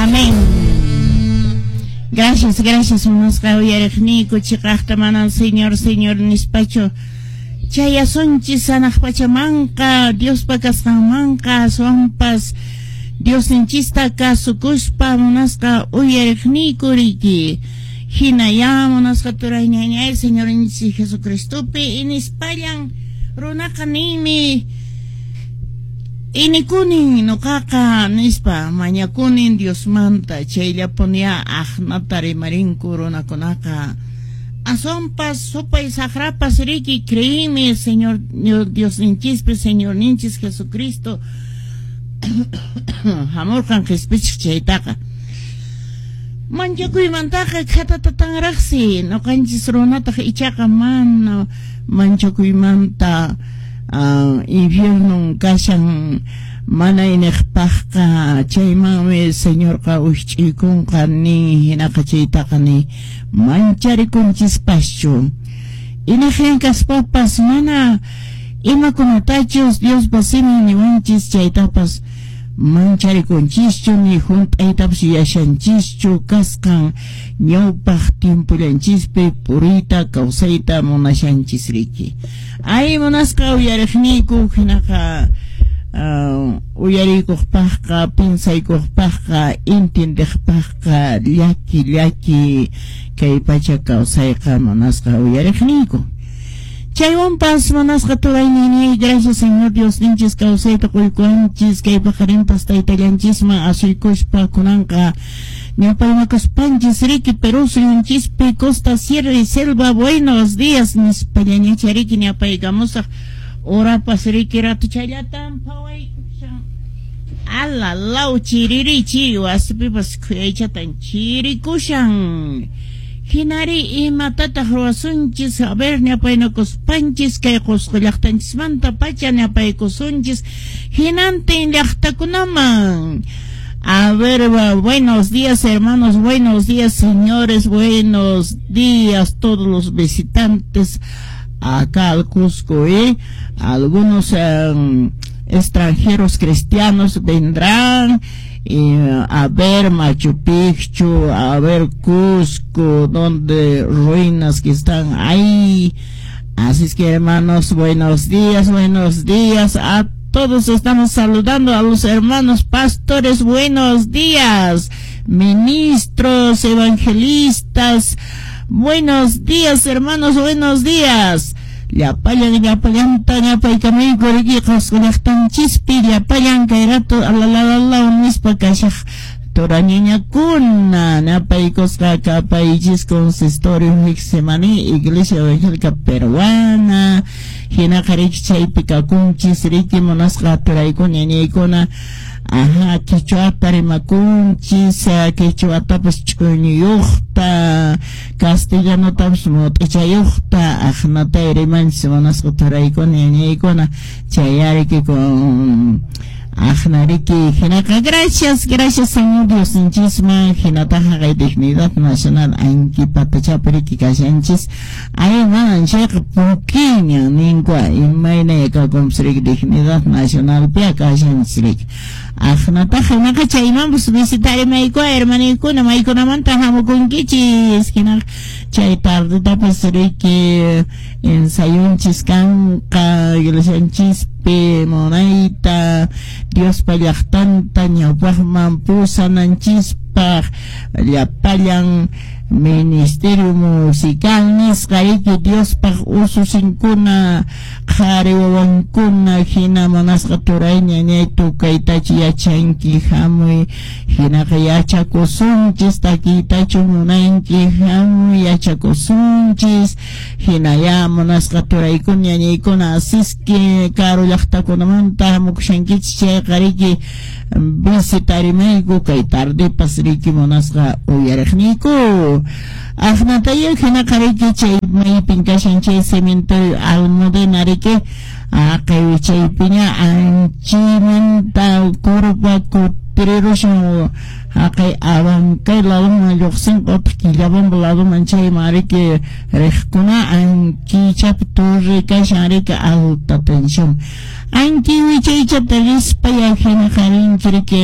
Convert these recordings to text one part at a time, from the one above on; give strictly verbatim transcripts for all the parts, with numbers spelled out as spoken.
Amén. Gracias, gracias, munasqa uyariqniyku, chiqaqta manan Señor, Señor nispachu chayasunchis hanaq pachamanqa, Diospa kasqanmanqa, aswanpas Diosninchista kasukuspa, munasqa uyariqniyku riki. Hinaya munasqa turay ñañay, Señorninchis Jesucristopi inispallan runaqa ninmi inikunin nuqaqa nispa, mañakunin Diosmanta, chayllapunya aqnata rimarinku runakunaqa. Aswanpas supay saqrapas riki creíme Señor Diosninchispi, Señorninchis Jesucristo hamurqan qhispichiq chaytaqa. Manchakuymantaqa khatatatanraqsi, nuqanchis runataq ichaqa mana manchakuymanta uh, infiernon kashan mana iniqpaqqa, chaymanmi Señorqa wikch'uykunqa nin, hinaqa chaytaqa ni mancharikunchispachu. Iniqin kaspapas mana imakunatachus Diospa simin niwanchis chaytapas mancharikunchischu, ni hunt'aytapas yashanchischu kasqan ñawpaq tiempollanchispi puriyta kawsayta munashanchis riki. Ay munasqa uyariqniyku, hinaqa uh, uyariykuqpaqqa, pinsaykuqpaqqa, intindiqpaqqa llaki llaki kay pacha kawsayqa, munasqa uyariqniyku. Chaywanpas munasqa turayninay, gracias Señor Diosninchis kawsayta quykuwanchis, kay paqarinpas taytallanchisman asuykuspa kunanqa ñawpaymakuspanchis riki Perú suyunchispi costa, sierra y selva, buenos días nispallañacha riki ñapaykamusaq horapas riki ratuchallatan phawaykushan ala law chiririchi wasipipas khuyaychatan chirikushan. Hinari imatataq ruwasunchis, a ver ñapaynakuspanchis kay Qusqu llaqtanchismanta pacha ñapaykusunchis hinantin llaqtakunaman. A ver, buenos días hermanos, buenos días señores, buenos días todos los visitantes acá al Cusco, ¿eh? Algunos eh, extranjeros cristianos vendrán eh, a ver Machu Picchu, a ver Cusco, donde ruinas que están ahí. Así es que hermanos, buenos días, buenos días a todos. Estamos saludando a los hermanos pastores, buenos días, ministros, evangelistas, buenos días hermanos, buenos días. Llapallan, llapallanta ñapaykamayku riki Qusqu llaqtanchispi, llapallan kay rato alalalalaw nispa kashaq turañañakuna ñapaykusqa kapaychis consistorio Getsemaní, Iglesia Evangélica Peruana, hinaqa riki chaypi kakunchis riki munasqa turaykuna ñañaykuna. Ajá, quichuata rimakunchis, quichuatapas ch'uñuyuqta, castellanotapas mut'ichayuqta, aqnata rimanchis munasqa turaykuna ñañaykuna, chayariki con aqnariki hinaqa gracias, gracias Señor Diosninchisman, hinataqa kay dignidad nacional ankipatachapi riki kashanchis, ay manan chayqa pukiña ninkua imayna kakunpas riki dignidad nacionalpi kashanchis riki. Aqnataqa hinaqa chaymanpas visitarimaykua hermaniykuna, maykunamanta hamukunkichis, hinaqa chay tardetapas riki ensayunchis kanqa iglesianchispi munayta Diospa llaqtanta ñawpaqman pusananchispaq llapallan ministerio musical nisqa riki Diospaq ususinkuna qhari wawankuna hina munasqa turay ñañay tukaytachu yachanki hamuy, hinaqa yachakusunchis takiytachu munanki hamuy yachakusunchis, hinaya munasqa turaykuna ñañaykuna asiski karu llaqtakunamanta hamukushankichis chayqa riki visitarimayku kay tardepas riki munasqa uyariqniyku. Aqnataya hinaqa riki chay maypin kashan chay cementerio Almudena riki aqay chaypiña anchimanta curva Partirirusan haqay Abancay ladoman lluqsinqa utaq Quillabamba ladoman chayman riki riqkuna ankichapi torre kashan riki alta tensión anki wichaychata rispaya hinaqa rinki riki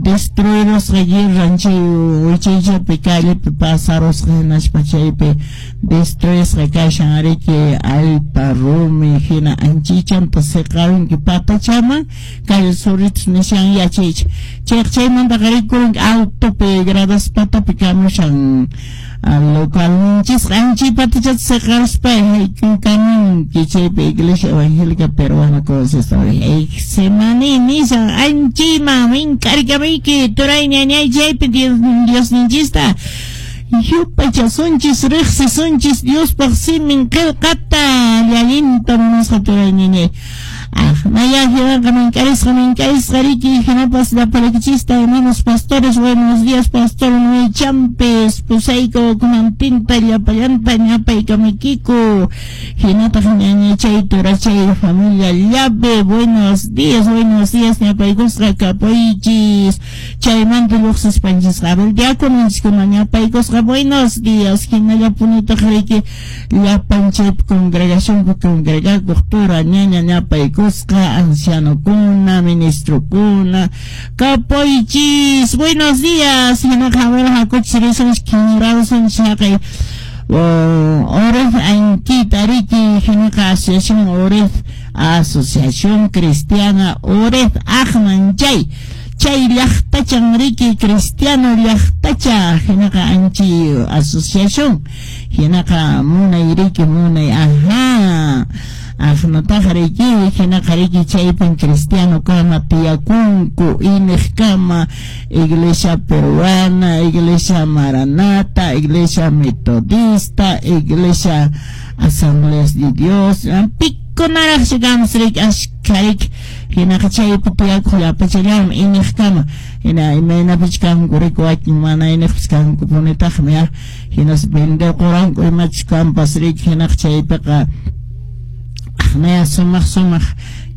destruirusqa guerran chay wichaychapi callepi pasarusqa hinaspa chaypi destruisqa kashan riki allpa rumi hina anchichanta siqarunki patachaman calle Zorritos nishan yachaycha chayqa chaymantaqa rikurunki altopi gradas patapi kamushan localninchisqa anchi patachata siqaruspa hayk'ukamunki chaypi Iglesia Evangélica Peruana Consistorio Getsemaní nishan anchiman mink'arikamayki turay ñañay chaypi Diosninchista yupaychasunchis riqsisunchis Diospaq simin qillqata llallinta munasqa turay ñañay. Naya hinaqa mink'arisqa mink'arisqa riki hinapas llapallaykichista hermanos pastores buenos días pastor Noé Champes pusayku kunantinta llapallanta ñapaykamaykiku hinataq ñañachay turachay familia llave buenos días buenos días ñapaykusqa kapuychis chaymanta lluqsispanchisqa a ver diáconochiskuna ñapaykusqa buenos días hinallapunitaq riki llapan chaypi congregacionpi congregakuq tura ñaña ñapaykusqa ancianokuna, ministrokuna, kapoychis, buenos días, hinaqa a ver hakuchis risunchis kinrarusunchis haqay Oref Anquita riki hinaqa Asociación Oref Asociación Cristiana Oref Aqman chay chay llaqtachan riki cristiano llaqtacha hinaqa anchi asociación hinaqa munay riki munay ajá aqnataqa riki hinaqa riki chaypin cristiano kama tiyakunku iniq kama Iglesia Peruana, Iglesia Maranata, Iglesia Metodista, Iglesia Asambleas de Dios, pikunaraqsi kanpas riki ashkha riki hinaqa chaypi tiyakuq llapachallanmi iniq kama hina imaynapich kanku riki wakin mana iniqpis kanku punitaqmi ya hinas venderquranku imachus kanpas riki hinaqa chaypiqa aqnaya sumaq sumaq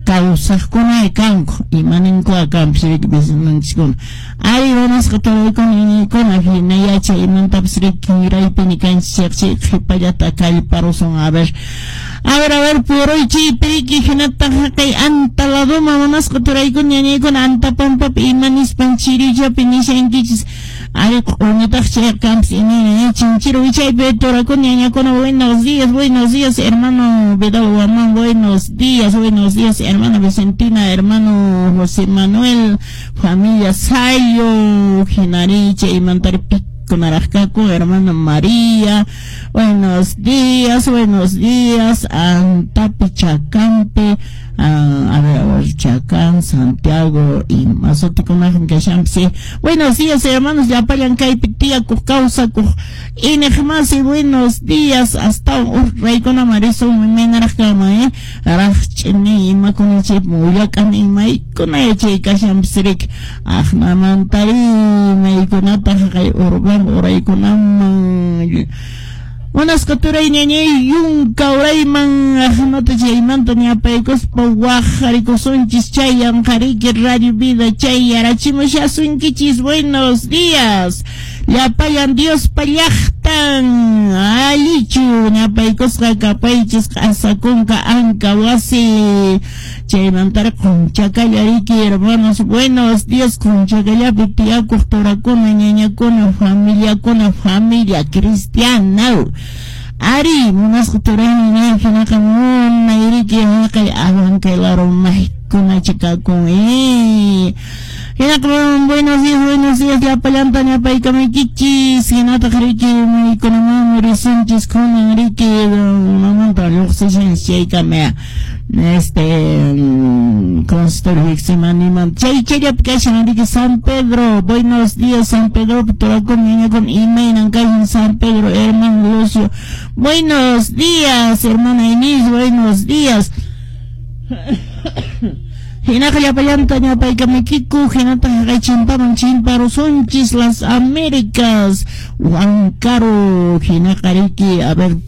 kawsaqkuna kanku imaninkuqa kanpas riki vecinonchiskuna ari munasqa turaykuna iñiykuna hina yachay imantapas riki kinraypini kanchis chayqa chay qhipallata kallparusun a ver a ver a ver puruychiypi riki hinataq haqay anta ladoman munasqa turaykuna ñañaykuna anta pampapi ima nispan chirichapi nishankichis ari q'uñitaq chayqa kanpas imayna chinchiro wichaypi turakuna ñañakuna buenos días buenos días hermano Vidal Guamán buenos días buenos días hermana Vicentina hermano José Manuel familia Sayo hinaricha imantari pikunaraqkaku hermana María buenos días buenos días Antapi Chacampi a ver, a ver, Chacán, Santiago y masutikunaqmi kashanpas sí. Buenos días hermanos llapallan kaypi tiyakuq kawsakuq iñiqmasi buenos días hasta uraykunaman risun imaynaraq kanman eh raqch'ini imakuna chaypi willak'ani imaykuna yachay kashanpas riki aqnamantari maykunataq haqay Urubamba uraykunaman munasqa turay ñañay yunka urayman aqnata chaymanta ñapaykuspa waqharikusunchis chay yanqariki Radio Vida chay yarachimushasunkichis buenos días llapallan Diospa llaqtan allichu ñapaykusqa kapaychis q'asakunka anka wasi chaymantari qunchakalla riki hermanos buenos días qunchakallapi tiyakuq turakuna ñañakuna familiakuna familia cristiana ari munasqa turaymi ña hinaqa munay riki haqay Abancay laro maykunacha kakun eh hinaqa buenos días buenos días llapallanta ñapaykamaykichis hinataq riki maykunamanmi risunchis kunan riki unamanta lluqsishanchis chaykama este consistorio Getsemaníman chay chayllapi kashan riki San Pedro buenos días San Pedro turakuna ñañakuna imaynan kashan San Pedro hermano Lucio buenos días hermana Inés buenos días hinaqa llapallanta ñapaykamaykiku hinataq haqay chimpaman chimparusunchis las Américas Huancaro hinaqa riki a ver